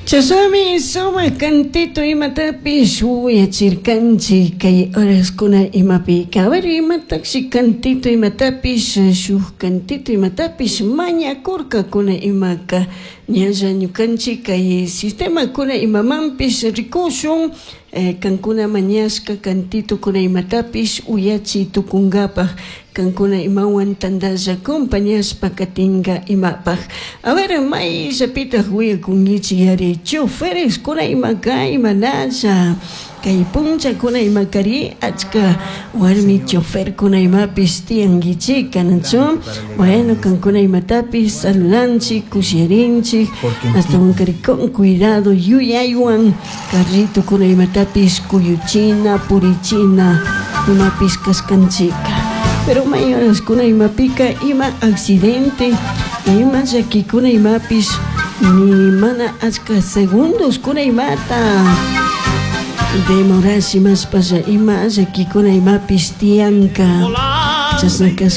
Chashnami sumak cantito imatapish uyachirkanchik kay horaskuna imapika. A ver, imatakshi cantito imatapish shuk cantito imatapish mañakurkakuna imaka. Ñalla ñukanchik kay sistemakuna imamanpish rikushun kankuna mañashka cantitokuna imatapish uyachi tukunkapak kankuna imawan tantalla compañashpa katinka imapaj. A ver, mayllapitaj uyakunkichik chofereskuna imaka imanalla kay punllakuna imakari achka warmi choferkuna imapish tiyankichik kanachu. Bueno, kankuna imatapish saludanchik, kushirinchik, ashtawankari con cuidado yuyaywan carritokuna imatapish kuyuchina, purichina imapish kashkanchika. Pero may horaskuna imapika ima accidente, ima llakikuna imapish ni mana achka segundoskuna imata demorash imashpalla ima llakikuna imapish tiyanka. Chashna.